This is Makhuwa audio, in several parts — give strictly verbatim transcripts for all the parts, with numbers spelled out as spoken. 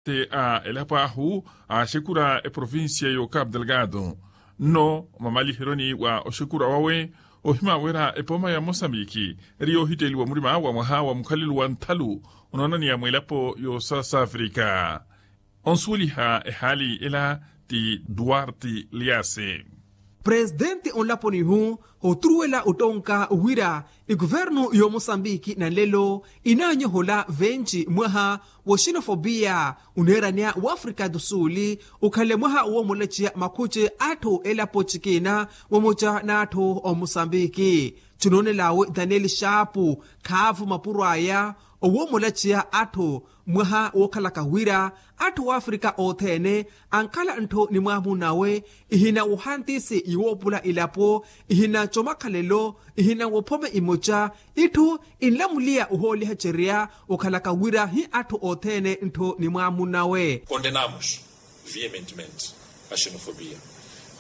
Te a elapo ahu aaxekura eprovincia y'okapu delgado. Nno mamaliheryoni wa oxekura wawe ohimawera epooma ya mosambiki eri yoohitteeliwa murima wa mwaha wa mukhalelo wa nthalu onoonaniya mweelapo y'osouth africa. Onsuweliha ehaali ela ti duarte liase. Presitenti onlaponi-hu oturuwela ottonka wira ekuvernu y'omosambiki nanlelo inaanyohola venci mwaha woxinofopiya oneeraniya w'afrika do sul, okhanle mwaha woomolexiya makhuce atthu elapo cikina vamoca n'atthu omosambiki. Cinoonel'awe daniel xaapu khaavu mapuro aya owoomolaciya atthu mwaha wookhalaka wira atthu w'afrika othene ankhala ntthu ni mwaamu nawe, ihina wohantisi yiwoopula ilapo, ihina comakhalelo, ihina wophome imoca, itthu inlamuliya ohoolihacerya okhalaka wira hi atthu othene ntthu ni mwaamu nawe. Condenamos veementemente a xenofobia.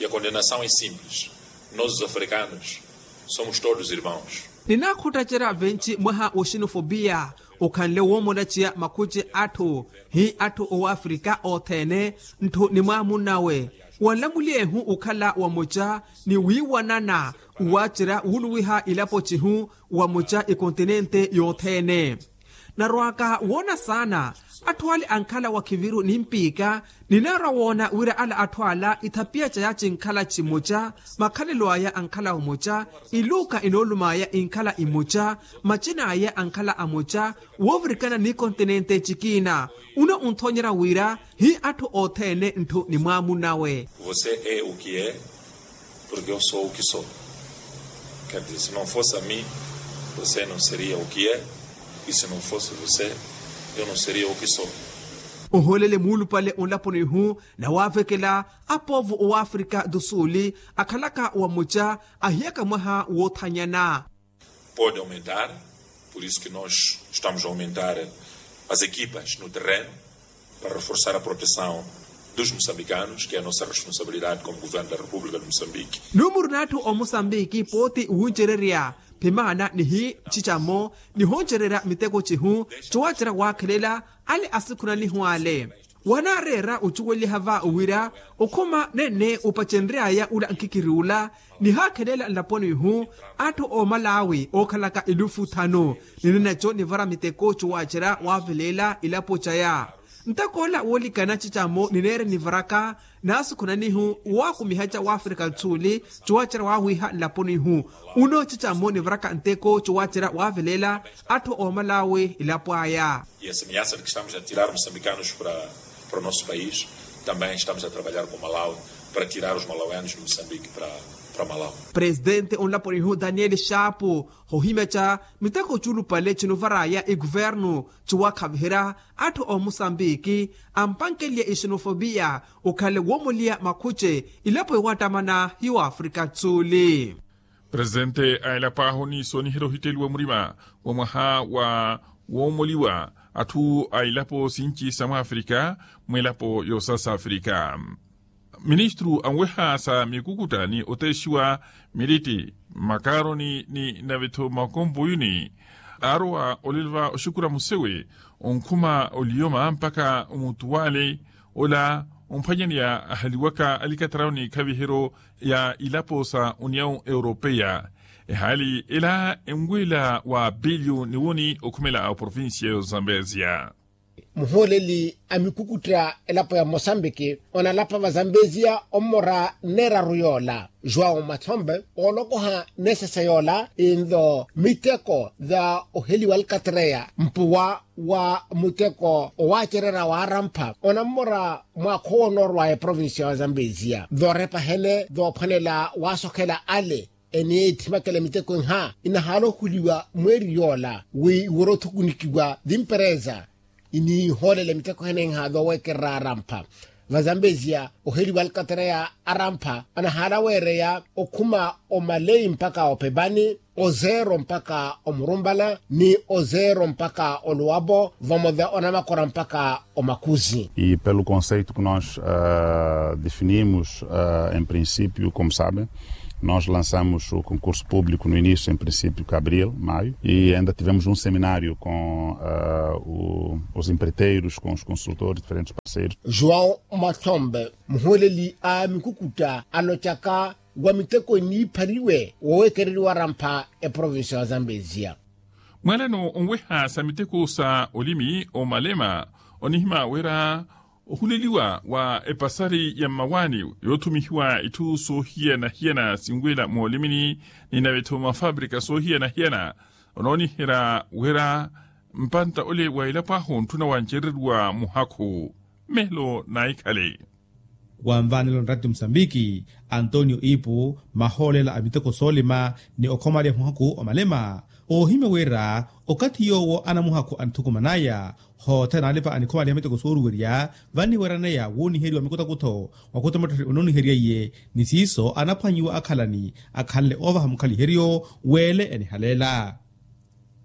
E a condenação é simples. Nós os africanos somos todos irmãos. Ninaakhottacerya venci mwaha wa xenofobia okhanle woomolaciya makhuci atthu hi atthu owafrika othene ntthu ni mwaamu nawe. Wanlamuliyehu okhala wamoca ni wiiwanana wacerya wuluwiha ilapo cihu wamoca ekontinente yothene. Narwaka woona saana atthu ale ankhala wakhiviru ni mpiika. Ninaarwa woona wira ala atthu ala ithapiya caya cinkhala cimoca, makhalelo aya ankhala omoca, iluuka inoolum'aya inkhala imoca, macin'aya ankhala amoca, woovirikana ni kontinente cikina. Uno unthoonyerya wira hi atthu othene ntthu ni mwaamu nawe. Você é o que é porque eu sou o que sou. Quer dizer, se não fosse a mim, você não seria o que é, e se não fosse você, eu não seria o que sou. Ohoolele muulupale onlaponi-hu na waavekela apoovo owafrika do sul akhalaka wamoca ahiyaka mwaha woothanyana. Pode aumentar. Por isso que nós estamos a aumentar as equipas no terreno para reforçar a proteção dos moçambicanos, que é a nossa responsabilidade como governo da república de moçambique. Numuru n'atthu omosambiki pooti wuncererya phimaana nihi cicamo nihoncererya miteko cihu cowacerya waakhelela ale asikhunanihu ale. Wanaareera ocuweliha va wira okhuma nenne opacenry'aya ula nkikiri ula nihaakhelela nlaponi-hu atthu oomalawi ookhalaka elufu thanu. Ninaneco nivara miteko cowacerya waaveleela ilapo caya. Ntakoola woolikana cicamo nineere nivaraka naasikhunanihu waakumihaca wafrika do sul cowacerya waawiiha nlaponi-hu. Uno cicamo nivaraka nteko cowacerya waaveleela atthu oomalawi ilapo aya. E a semelhança de que estamos a tirar moçambicanos para o nosso país, também estamos a trabalhar com malawi para tirar os malauianos de moçambique para malawi. Presitente onlaponi-hu daniel xaapu hohimeca miteko culupale cinuvar'aya ekuvernu ciwakhaviherya atthu omosambiki ampankelye exenofobia okhanle woomoliya makhuce ilapo yowattamana hiyo afrika do sul. Presitente a elapo ahu ni sooniherya ohitteliwa murima wa mwaha wa woomoliwa atthu a ilapo sinci sa mwafrika mw'elapo y'osouth africa. Ministru anweha sa mikukutta ni oteexiwa miritti makaroni ni nave-tho makompuyuni aarowa olelo va oxukura musewe onkhuma oliyoma mpakha omutuwale ola omphwanyaneya ahaliwaka alikatarawo n'ikhaviheryo ya ilapo sa uniyawu europeya. Ehaali ela enweela wa piliyo niwoni okhumela oprovincia y'ozambezia. Muhooleli a mikukutta elapo ya mosambiki onalapa vazambezia ommora nneeraru yoola joão mathombe oolokoha nesese yoola inlo miteko va oheliwa alkatreya mpuwa wa muteko owaacererya waarampha onammora mwaakha owo onoorwaya eprovincia wa zambezia voorepa hene voophwanela waasokhela ale eniithimakela miteko nha inahaala ohuliwa mweeri yoola wi iwere othukunikiwa vimpereza iniihoolela miteko henenha voowekererya arampha vazambezia oheliwa alkatreya arampha anahaala weereya okhuma omalei mpakha opepani ozeero mpakha omurumbala ni ozeero mpakha oluwapo vamoca onamakora mpakha omakhuzi. E pelo conceito que nós definimos em princípio como sabem Nós lançamos o concurso público no início, em princípio, de abril, maio, e ainda tivemos um seminário com os empreiteiros, com os consultores, diferentes parceiros. João Matombe, muhuuleli a mikukuta, alocaka wa miteko eniiphariwe woowekereriwa rampha eprovincia wa Zambezia. Mwalano onweha sa miteko sa olimi omalema onihima wira ohuleliwa wa epasari ya mmawaani yoothumihiwa itthu soohiyana-hiyana sinwela moolimini ni nave-tho mafabrika soohiyana-hiyana onooniherya wira mpantta ole wa elapo ahu ontthuna wancereriwa muhakhu. Melo naikhale. Wanvaanela onratti musambiki antonio ipu mahoolela a miteko soolima ni okhomaliha muhakhu omalema oohimya wira okathi yoowo anamuhakhu anthukumanaya hootha naalipa anikhomaliha miteko sooruwerya vanniweryaneya wooniheriwa mikutakutho wa khuta mattotthe onooniheryeiye ni siiso anaphwanyiwa akhalani akhanle oovaha mukhaliheryo weele enihaleela.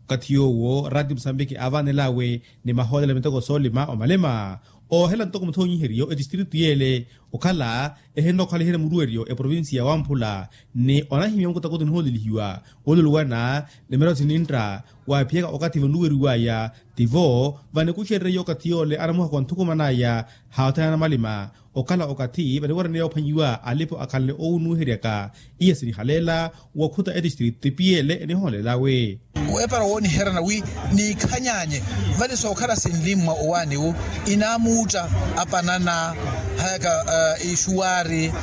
Okathi yoowo rati musambiki aavaanelawe ni mahoolela miteko soolima omalema oohela ntoko muthoonyiheryo etistritu yeele okhala ehinnokhaliherya muruweryo eprovinsiya wamphula ni onahimya mukutakuti nihoolelihiwa oluluwana ni mirawo sinintta waaphiyaka okathi vanuweriwaya tivo vanikuxererye okathi yoole anamuhakhu anthukumanaya haathana na malima okhala okathi vaniweraniya ophwanyiwa alipo akhanle owunuweheryaka iya sinihaleela wokhuta etistritu tipiyeele enihoolelawe. Weepara wooniherana wi niikhanyanye vale sookhala sinlimmwa owaaniwu inaamuutta apanana hayaka ixuwaari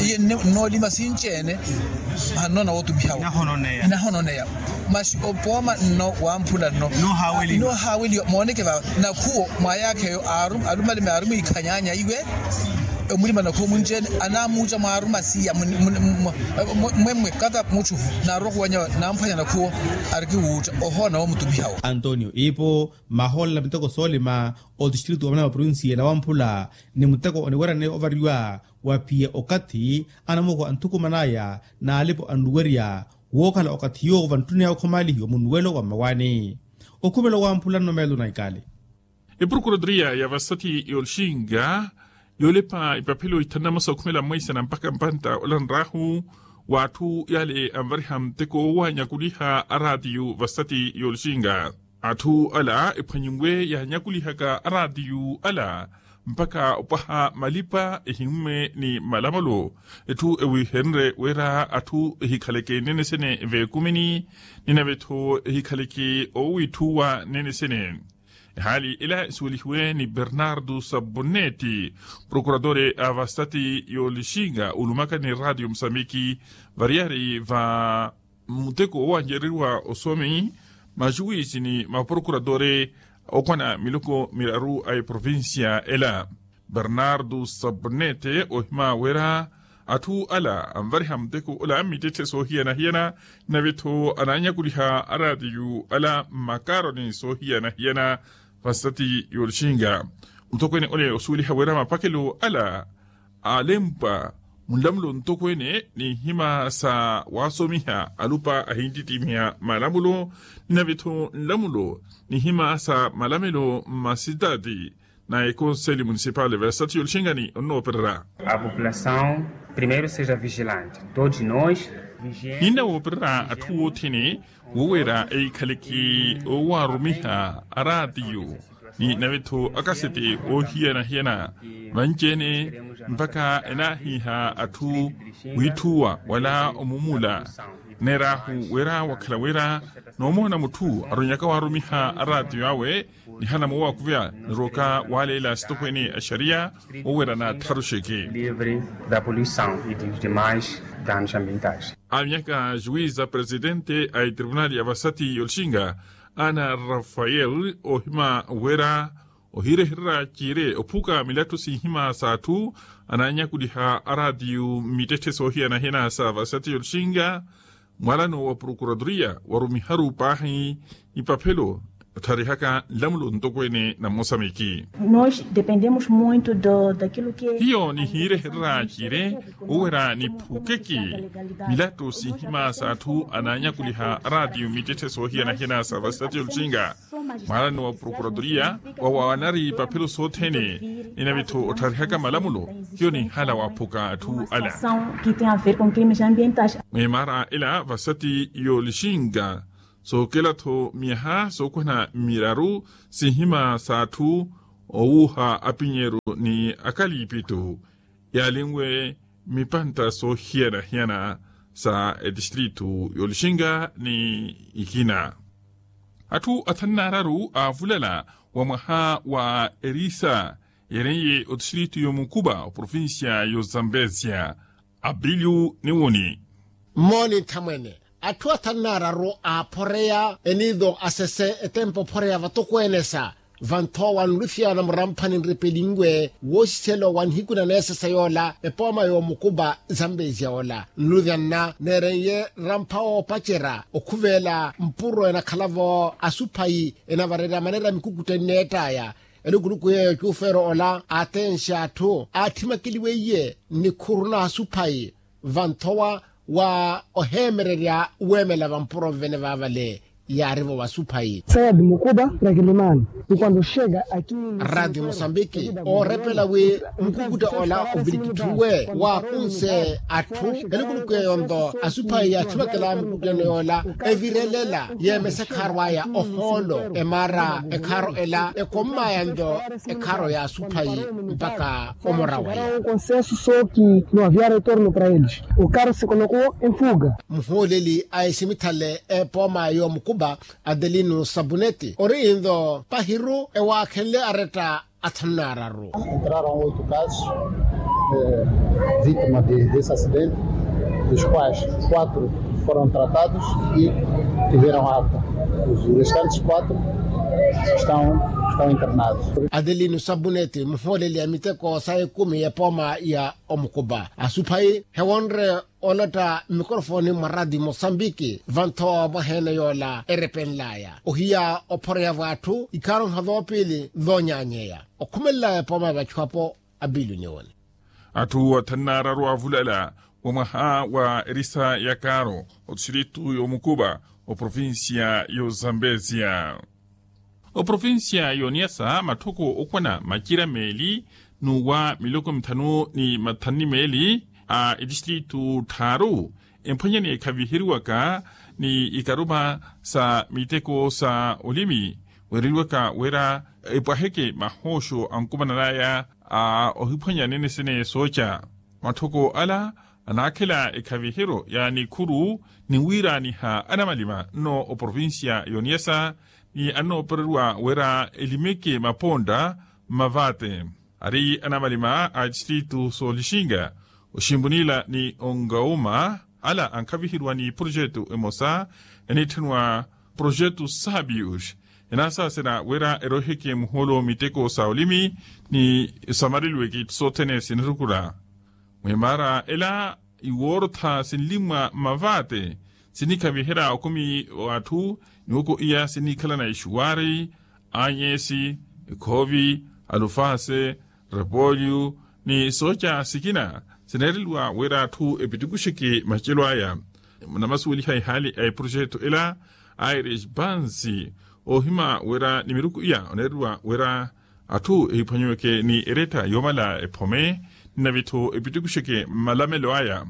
iye nnoolima sinci-ene. Hannoona wootumihawo inahononeya masi opooma nno wamphula nno noohaaweliwa mooneke vava nakhuwo mwayaakha eyo alumalime aarumwiikhanyanya iwe omulima nakhuwo munci-ene anaamuutta mwaaruma siya mwemmwe kata mutthu naarwa khuwanya namphwanya nakhuwo arikiwuutta ohoona woomutumihawo. Antonio ipo mahoolela miteko soolima otistritu wa mwana wa provincia na wamphula ni muteko oniweryaneya ovariwa wa phiya okathi anamoko anthukumanaya n'alipo anluwerya wookhala okathi yoowo vanttuneya okhomaalihiwa munnuwelo wa mmawaani. Okhumela owamphula nno meelo na ikali. Eprokuratria ya vasati y'olixinga yoolepa ipaphelo ithanu na masu okhumela mweisana mpakha mpantta olanr'ahu w'atthu yale anvariha muteko waanyakuliha araatiyu vasati y'olixinga. Atthu ala ephwanyinwe yaanyakulihaka araatiyu ala mpakha opwaha malipa ehimmwe ni malamolo. Etthu ewiihenrye wira atthu ehikhaleke nnenesene veekumini ni nave-tho ehikhaleke owiitthuwa nnenesene. Ehaali ela esuwelihiwe ni bernardo saboneti prokuratore a vasati y'olixinga olumaka ni raatiyo musambiki variyari va muteko owancereriwa osomi maxuwisi ni maprokuratore okwana miloko miraru a eprovincia ela. Bernardo sabonete ohima wira atthu ala anvariha muteko ola mmittetthe soohiyana-hiyana nave-tho anaanyakuliha araatiyu ala mmakaaroni soohiyana-hiyana vasati y'olixinga. Mutokweene ole osuweliha wira mapakelo ala aalempwa munlamulo ntokweene n'ihima sa waasomiha alupa ahinttitimiha malamulo ni nave-tho nlamulo n'ihima sa malamelo mmasitaati na ekonseli munisipale vasati y'olixingani onnoopererya. A populasaw primeiro seja vigilante todos nos ninna woopererya atthu woothene wowera eikhaleke owaarumiha araatiyo ni nave-tho akasete oohiyana-hiyana vanci-ene mpakha enaahiiha atthu wiitthuwa wala omumula. Neer'ahu wira wakhala wira noomoona mutthu aronyaka waarumiha araatiyo awe nihana moowakuvya nirooka waaleela asitokweene a xariya owerana tharuxeke. Livre da poluisaw e dos demais danos ambientais. Amyaka juiza presidente a etribunali ya vasati y'olixinga ana rafael ohima wira ohirehererya ciire ophuka milattu sinhima s'atthu anaanyakuliha araatiyu mmittetthe soohiyana-hiyana sa vasati y'olixinga mwalano wa prokuraturiya warumiharu paahi ipaphelo Ottharihaka nlamulo ntokweene na mmosamiki. Nós dependemos muito do daquilo que hiyo nihiirehererya cire owerya niphukeke milatto sinhima s'atthu anaanyakuliha araatiyo mittetthe soohiyana-hiyana sa vasitati yolucinga. Mwaarani wa prokuratoria wawanari paphelo sothene, ninavittho ottharihaka malamulo hiyo ninhala waphuka atthu ala. Mwimaara ela vasati yolucinga sookela-tho miyaha sookuhana miraru sinhima s'atthu owuuha apinyeru ni akaliipitu yaalinwe mipantta soohiyana-hiyana sa etistritu yolucinga ni ikina. Atthu athanu n'araru aavulala wa mwaha wa erisa yeereiye otistritu y'omukupa oprovincia y'ozambezia. Apiliyu niwuni. Mmooni nthamwene atthu athanu n'araru aaphoreya eniido asese etempo ophoreya vatokweene sa vanthowa nlufyana muramphani nripelinwe woosiselo wa nihiku na neesesa yoola epooma y'omukupa zambezia ola nluvyanna neereiye rampha woopacerya okhuveela mpuro enakhala-vo asuphayi enavarerya maneera mikukutta enneett'aya. Elukuluku yeeyo cuufeero ola aatenxe atthu aatthimekeliweiye nnikhuru na asuphayi vanthowa wa oheemererya weemela vampuro nvene vaavale yaari-vo vasuphayi. Saya di mukupa rakilimani. Nkwando xeka aki radio mosambiki oorepela wi mukukutta ola ovilikitthiwe waakunse atthu elukuluku yeeyo-nto asuphayi yaatthimekela mukuttano yoola evirelela yeemesa ekhaaro aya ohoolo emaara ekhaaro ela ekommaya nto ekhaaro ya asuphayi mpaka omora waya. Konsensu sooki no havia retorno para eles. O carro se colocou em fuga. Muhooleli a esimithale epooma y'omukupa adelino sabuneti ori nto pahiru ewaakhenle aretta athanu n'araru. Entraram oito casos vítimas desse acidente, dos quais quatro foram tratados e tiveram alta. Os restantes quatro estão internados. Adelino sabuneti muhooleli a miteko sa ekumi epooma ya omukupa asuphayi hewonre olotta mmikorofoni mwa radio mosambiki vanthowa mwaheene yoola erepenl'aya ohiya ophoreya vw'atthu ikhaaro nhavi opiili voonyaanyeya okhumelela epooma vachu apo. Apiili oniwoni. Atthu athanu n'araru aavulala wa mwaha wa erisa ya kaaro otistritu y'omukupa oprovincia y'ozambezia. Oprovincia y'oniyasa matthoko okwana macira meeli n'uwa miloko mithanu ni mathanu ni meeli a etistritu tthaaru emphwanyani ekhaviheriwaka ni ikaruma sa miteko sa olimi weereliwaka wira epwaheke mahooxo ankumanan'aya a ohiphwanya nene sene sooca. Matthoko ala anaakhela ekhaviheryo ya nikhuru ni wiiraaniha anamalima nno oprovincia y'oniyasa ni annoopereriwa wira elimeke mapontta mmavate. Ari anamalima a tistritu soolixinga oximpunila ni ongauma ala ankhaviheriwa ni projetu emosa eniitthaniwa projetu sabius enaasaasera wira eroiheke muhoolo miteko sa olimi ni samareliweke itthu sothene sinirukura. Mwimaara ela iwoorotha sinlimwa mmavate sinikhaviherya okumi w'atthu. Niwoko iya siniikhalana ixuwaari, anyesi, ekhoovi, alufase, repolyo ni sooca sikina sineereliwa wira atthu epitukuxeke macelo aya. Namasuweliha ihaali a eprojetu ela aires bansi oohima wira ni miruku iya oneereliwa wira atthu ehiphwanyeweke ni eretta yoomala ephome nnavitthu epitukuxeke mmalamelo aya.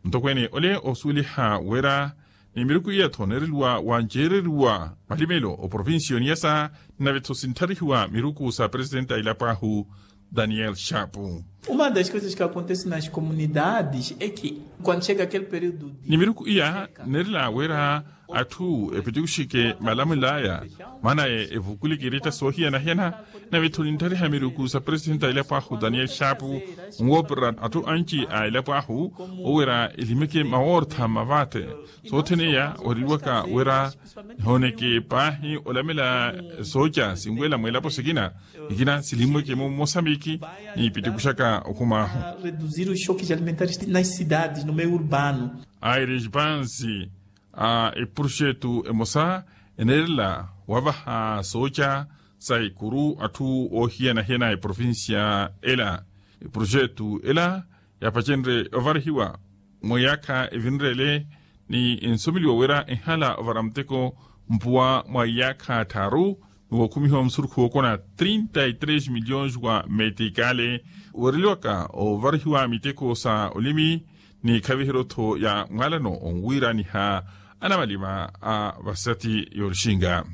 Mutokweene ole oosuweliha wira ni miruku iya-tho oneereliwa wanceereriwa malimelo oprovincia y'oniyasa nnavitthu sinttharihiwa miruku sa presitenti a ilapo ahu daniel chapu. Uma das coisas que acontece nas comunidades é que quando chega aquele período de ni miruku iya nneerela wira atthu epitukuxeke malamelo aya maana evukuleke eretta soohiyana-hiyana. Nave-tho ninttariha miruku sa presitenti a elapo ahu daniel chapu onwoopererya atthu anci a elapo ahu owira elimeke mawoortha mmavate. Sothene iya ohereliwaka wira nihooneke paahi olamela sooca sinweela mweelapo sikina ikina silimweke mumosambiki niipitikuxaka okhuma ahu. Reduzir os choques alimentares nas cidades no meio urbano. Aires bansi a eprojetu emosa Eneerela wavaha sooca sa ikuru atthu oohiyana-hiyana eprovincia ela. Eprojetu ela yaapacenrye ovarihiwa mwa iyaakha evinrele ni nsomeliwa wira ehala ovara muteko mpuwa mwa iyaakha tthaaru ni wookhumihiwa musurukhu wookona trinta y tres milhões wa metikale. Weereliwaka ovarihiwa miteko sa olimi ni khaviheryo-tho ya mwaalano onwiiraniha anamalima a vasati y'orixinga.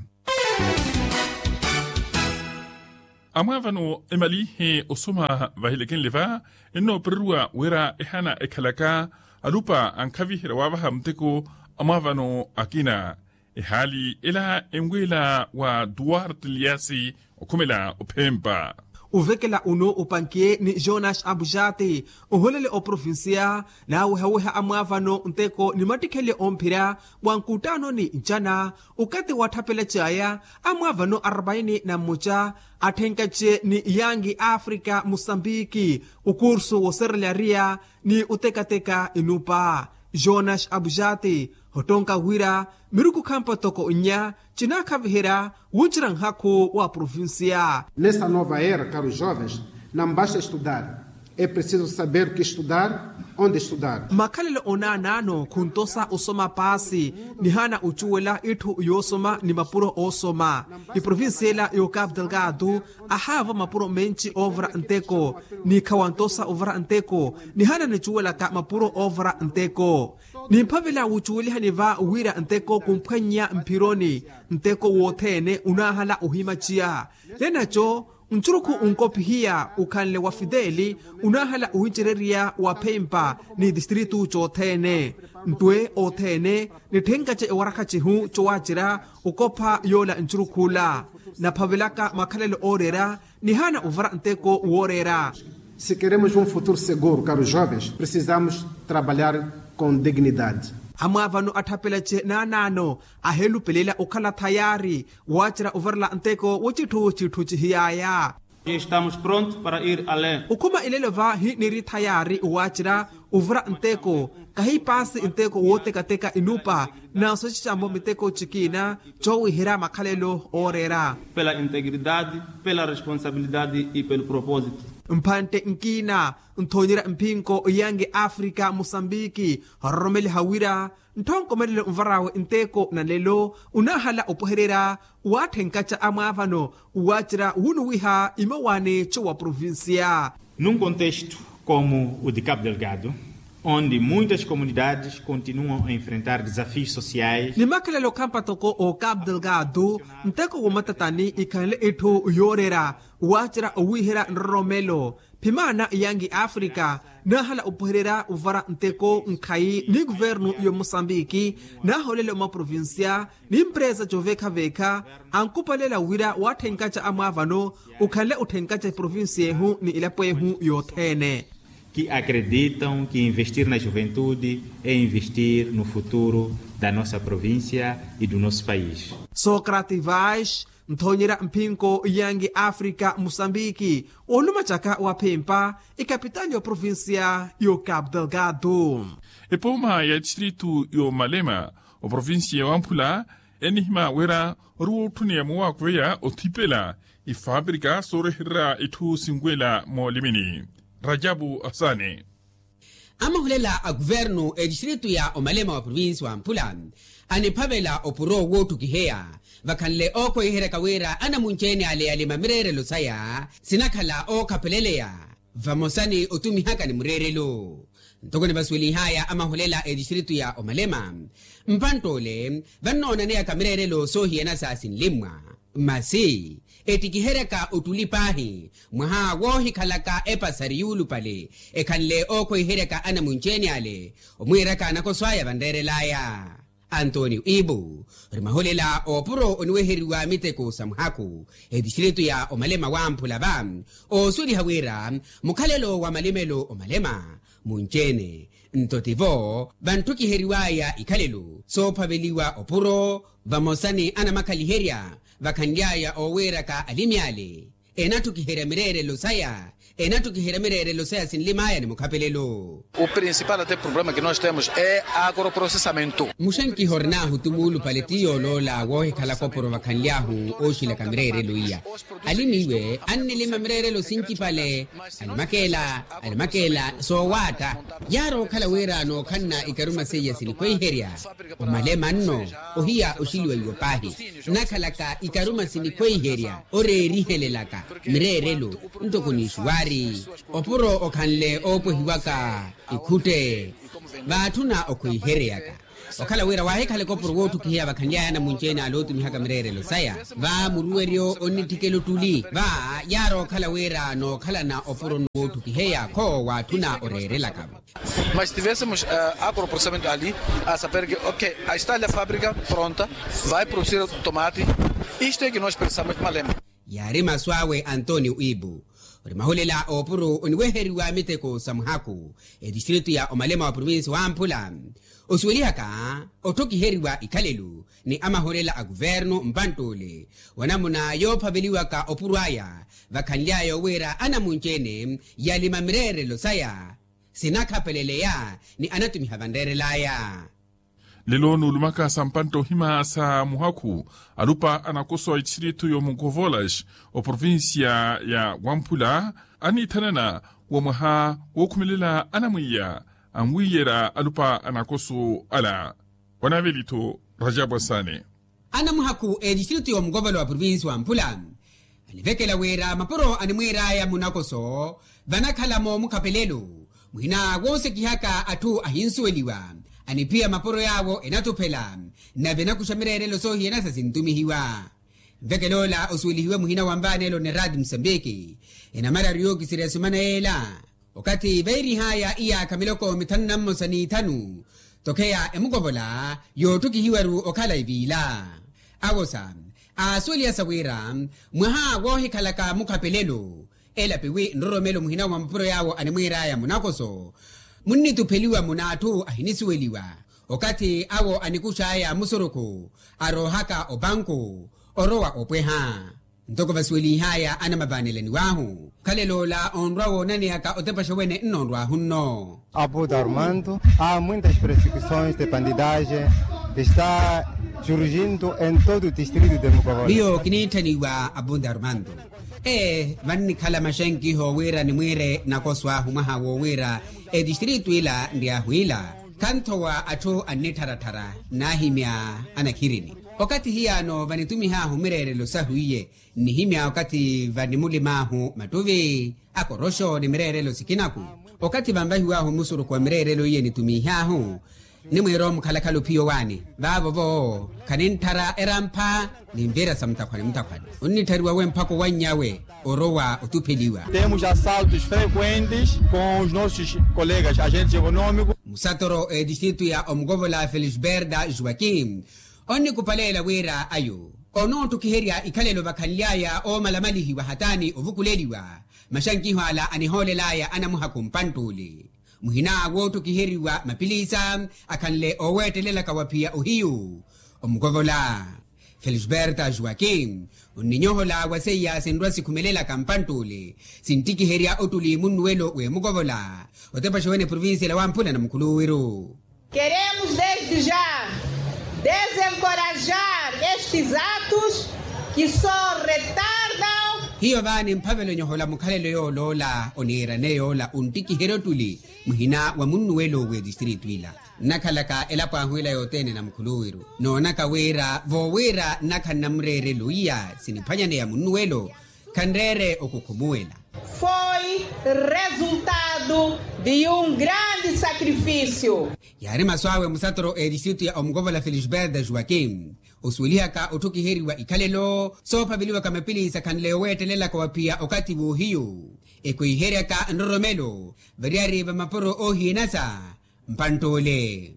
Amwaavano emalihe osoma vahilekenle va ennoopereriwa wira ehana ekhalaka alupa ankhaviherya waavaha muteko. Amwaavano akina ehaali ela enweela wa duarte liasi okhumela ophempa. Uvekela uno upankiye ni jonas abujati oholele oprovincia naawehaweha amwaavano nteko ni mattikhelye omphira wa nkuttaanoni ncana okathi watthapela caya amwaavano arbaini na mmoca atthenkace ni yangi afrika musambiki okursu woserelariya ni otekateka inupa. Jonas abujati ottonka wira miruku khampa toko nnya cinaakhaviherya wuncira nhakhu wa provincia. Nessa nova era karu jovens nambasta estudar e preciso saber ki estudar onde estudar. Makhalelo onaanaano khuntosa osoma paasi nihana ocuwela itthu yoosoma ni mapuro oosoma. Iprovincia ela y'okapu delgado ahaava mapuro menci oovara nteko ni khawantosa ovara nteko nihana nicuwelaka mapuro oovara nteko. Nimphavela wucuwelihani va wira nteko khumphwannya mphironi nteko wothene unaahala ohimaciya lenaco ncurukhu unkophihiya ukhanle wa fideli unaahala ohincererya wa phempa ni tistritu cothene ntwe othene nitthenkace ewarakha cihu cowaacira okopha yoola ncurukhula naphavelaka makhalelo ooreera nihana ovara nteko wooreera. Se queremos um futuro seguro karu jovens precisamos trabalhar com dignidade. Amwaavano atthapelace naanaano aheelupelela okhala thayaari waacira ovarela nteko wo citthu citthu cihiyaya. Estamos pronto para ir além. Okhuma elelo vahi niri thayaari waacira ovara nteko kahi paasi nteko wootekateka inupa na soci cammo miteko cikiina coowiherya makhalelo ooreera. Pela integridade pela responsabilidade e pelo propósito. Mphantte nkiina nthoonyerya mphinko yangi afrika musambiki ororomeliha wira ntthonkomelelo nvar'awe nteko na nlelo unaahala opwehererya waatthenkaca amwaavano waacira wunuwiha imawani cowa provincia. Num contexto como o de cabo delgado onde muitas comunidades continuam a enfrentar desafios sociais. Ni makhalelo khampa toko o cabo delgado nteko womatatani ikhanle itthu yooreera waacira owiiherya nroromelo phimaana yangi afrika naahala opwehererya ovara nteko nkhayi ni kuvernu y'omosambiki naaholele omaprovincia ni mpresa coveekhaveekha ankupalela wira waatthenkaca amwaavano okhanle otthenkaca eprovincia ehu ni elapo ehu yothene. Que acreditam que investir na juventude é investir no futuro da nossa província e do nosso país. Socrate vaz nthoonyerya mphinko yangi afrika musambiki olumacaka waphempa ikapitali y'oprovincia y'ocapo delgado. Epooma ya tistritu y'omalema oprovincia ya wamphula enihima wira ori wootthuniya muwaakuveya othipela ifaaprika soorehererya itthu sinwela moolimini. Rajabu asani. Amahulela a kuvernu etistritu ya omalema wa provinsi wa mphula aniphavela opuro wootthukiheya vakhanle ookhweiheryaka wira anamunci-ene ale yalima mireerelo saya sinakhala ookhapeleleya vamosa ni otumihaka ni mureerelo. Ntoko nivasuwelihaya amahulela etistritu ya omalema mpantt'ole vannoonaneyaka mireerelo soohiyana sa sinlimmwa masi ettikiheryaka ottuli paahi mwaha woohikhalaka epasari yuulupale ekhanle ookhweiheryaka anamunci-ene ale omwiiraka anakoso aya vanreerel'aya. Antonio ibu ori mahulela oopuro oniweheriwa miteko sa muhaku etistritu ya omalema wamphula va oosuweliha wira mukhalelo wa malimelo omalema munci-ene nto tivo vantthukiheryiw'aya ikhalelo soophaveliwa opuro vamosa ni anamakhaliherya vakhanly'aya oowiiraka alimi ale enattukiherya mireerelo saya Enattukiherya mireerelo saya sinlimaya ni mukhapelelo. O principal ate problema que nos temos é agroprocessamento. Muxenkiha orinaahu ti muulupale ti yooloola woohikhala koporo vakhanly'ahu ooxilaka mireerelo iya. Ali n'iwe annilima mireerelo sincipale. Alimakeela alimakeela soowaatta. Yaari okhala wira nookhanna ikaruma seiya sinikhweiherya. Omalema nno ohiya oxiliwa iwo paahi. Nakhalaka ikaruma sinikhweiherya oreerihelelaka mireerelo ntoko n'ixuwaari. Opuro okhanle oopwehiwaka ikhutte. Vaatthuna okhweiheryaka okhala wira waahikhala ekopuro woottukiheya vakhanly'aya anamunci-ene ale ootumihaka mireerelo saya. Va muruweryo onnitthikela ottuli va yaari okhala wira nookhalana opuro nno woottukiheya kho waatthuna oreerelaka-vo. Mas tivéssemos agroprocessamento ali a saber que ok, a está ali a fábrica pronta, vai produzir tomate. Isto é que nos precisamos malema. Yaari masu awe antonio ibu. Ori mahulela oopuru oniweheriwa miteko sa muhaku etistritu ya omalema wa provinsi wamphula osuwelihaka otthokiheriwa ikhalelo ni amahulela a kuvernu mpantt'ule. Wanamuna yoophaveliwaka opuru aya vakhanly'aya owiira anamunci-ene yalima mireerelo saya sinakhapeleleya ni anatumiha vanreerel'aya. Lelo nuulumaka sa mpantta ohima sa muhakhu alupa anakoso a etistritu y'omukovolas oprovincia ya wamphula aniithanana wa mwaha wookhumelela anamwiiya anwiiyerya alupa anakoso ala. Wanaaveli-tho rajabu asaane. Anamuhakhu a etistritu y'omukovola wa provinsi wamphula anivekela wira mapuro animwiir'aya munakoso vanakhala moomukhapelelo muhina woosekihaka atthu ahinsuweliwa. Aniphiya mapuro yaawo enatuphela nave enakuxa mireerelo soohiyana sa sintumihiwa. Nvekel'ola osuwelihiwe muhina wa nvaanelo ni raati musambiki enamararu yookiserya sumana yeela. Okathi veerih'aya iyaakha miloko mithanu na mmosa n'ithanu tokheya emukovola yootthukihiwaru okhala eviila. Awosa aasuweliha sa wira mwaha woohikhalaka mukhapelelo elapiwi nroromelo muhina wa mapuro yaawo animwiir'aya munakoso munnitupheliwa muna atthu ahinisuweliwa. Okathi awo anikux'aya musurukhu aroohaka opanku orowa opweha. Ntoko vasuwelih'aya anamavaanelaniw'ahu okhalel'ola onrwa woonaneyaka otepaxa wene nnoonrw'ahu nno. Abuda armando a muintas persecuções de bandidagem está surgindo em todo o distrito de mukovola. Miyo kiniitthaniwa abunda armando ee vannikhala maxenkiho wira nimwiire nakoso ahu mwaha wowiira etistritu ila nryahu ila khanthowa atthu annittharatthara naahimya anakhirini. Okathi hiyaano vanitumih'ahu mireerelo sahu iye nnihimya okathi vanimulim'ahu mattuvi akoroxo ni mireerelo sikinaku. Okathi vanvahiw'ahu musurukhu wa mireerelo iye nitumih'ahu nimwiira omukhalakhala ophiya owaani vaavo-vo khanintthara erampha ni nvira sa mutakhwani mutakhwani onnitthariwa we mpakha owanny'awe orowa otupheliwa. Temos assaltos frequentes com os nossos colegas agentes económicos. Musatoro etistritu ya omukovola felisberda joaquim onnikupaleela wira ayo onoottukiherya ikhalelo vakhanly'aya oomalamalihiwa hataani ovukuleliwa maxankiho ala anihoolel'aya anamuhakhu mpantt'ule muhina woottokiheriwa mapilisa akhanle ooweettelelaka wa phiya ohiyu. Omukovola felisberta joaquim onninyohola wa seiya sinrwa sikhumelelaka mpantt'ule sinttikiherya ottuli munnuwelo w'emukovola otepaxa wene provincia ela wamphula na mukhuluwiru. Queremos desde já desencorajar estes atos que só retardam. Hiyo vaani mphavelo nyohola mukhalelo yooloola oniirane yoola onttikiherya ottuli muhina wa munnuwelo w'etistritu ila nnakhalaka elapo ahu ila yothene na mukhuluwiru noonaka wira voowiira nnakhanna mureerelo iya siniphwanyaneya munnuwelo khanreere okukhumuwela. Foi resultado de um grande sacrifício. Yaari masu awe musatoro a etistritu ya omukovola felisberta joaquim osuwelihaka otthukiheriwa ikhalelo soophaveliwaka mapilisa khanle oweettelelaka wa phiya okathi w'ohiyu ekwiheryaka nroromelo variyari va mapuro oohiyanasa mpantt'ule.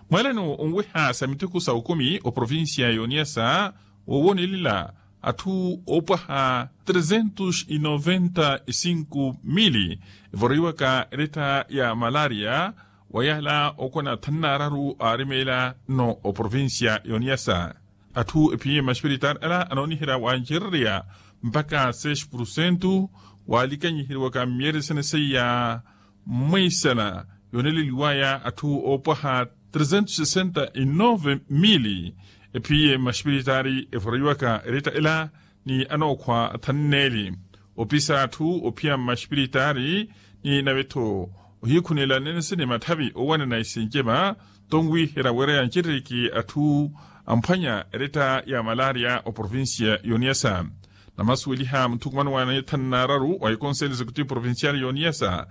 Mwalano onweha sa miteko sa okumi oprovincia y'oniyasa woowoonelela atthu oopwaha trezentos e noventa e cinco mili evoroiwaka eletta ya malaria wa yaala okona thanu n'araru aarimeela nno oprovincia y'oniyasa. Atthu ephiye maxipiritaari ala anooniherya wancererya mpakha seis pursentu Waalikanyiheriwaka mmiyeresene seiya mweisana yooneleliwaya atthu oopwaha tresentos sesenta e nove mili ephiye mmaxipiritaari evoroiwaka eretta ela ni anookhwa athanneeli opisa atthu ophiya mmaxipiritaari ni nave-tho ohiikhunela nenesene matthavi oowanana isinjema tonwiihera wira yancerereke atthu amphwanya eretta ya malaria oprovincia y'oniyasa. Namasuweliha munthukumano wa neethanu n'araru wa ekonseli executivo provincial y'oniyasa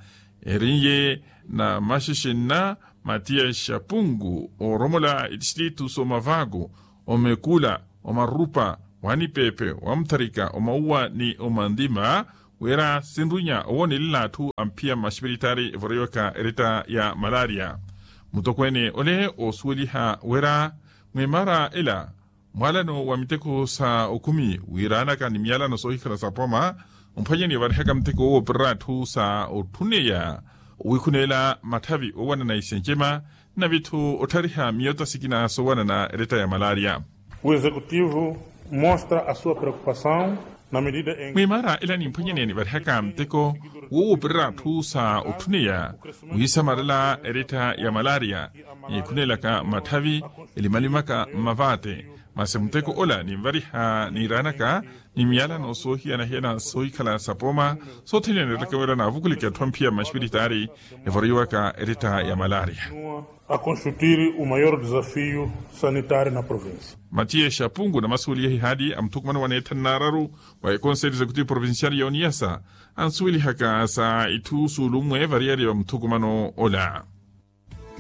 erinye na maxixinna matiya exapungu ooromola etistritu s'omavaku omekula omarupa wanipepe wamutharika omauwa ni omantima wira sinrunya owonelela atthu amphiya mmaxipiritaari evoroiwaka eretta ya malaria. Mutokweene ole oosuweliha wira mwimaara ela mwaalano wa miteko sa okhumi wiiranaka ni miyalano soohikhala sa poma omphwanyani varihaka miteko wooperera atthu sa otthuneya owiikhuneela matthavi oowanana isenjema nave-tho otthariha miyota sikina soowanana eretta ya malaria. O executivo mostra a sua preocupação na medida em mwimaara ela nimphwanyaneni varihaka miteko woowoperera atthu sa otthuneya wiisamarela eretta ya malaria niikhuneelaka matthavi elimalimaka mmavaate. Masi muteko ola ninvariha niiraanaka ni miyalano soohiyana-hiyana soohikhala sa poma soothene neettaka wira naavukuleke atthu amphiya mmaxipiritaari evoroiwaka eretta ya malaria. A constituir o maior desafio sanitário na provincia. Matiya exapungu namasuweliha ihaali a muthukumano wa neethanu n'araru wa ekonseli executivo provincial y'oniyasa ansuwelihaka sa itthu suulummwe variyari va muthukumano ola.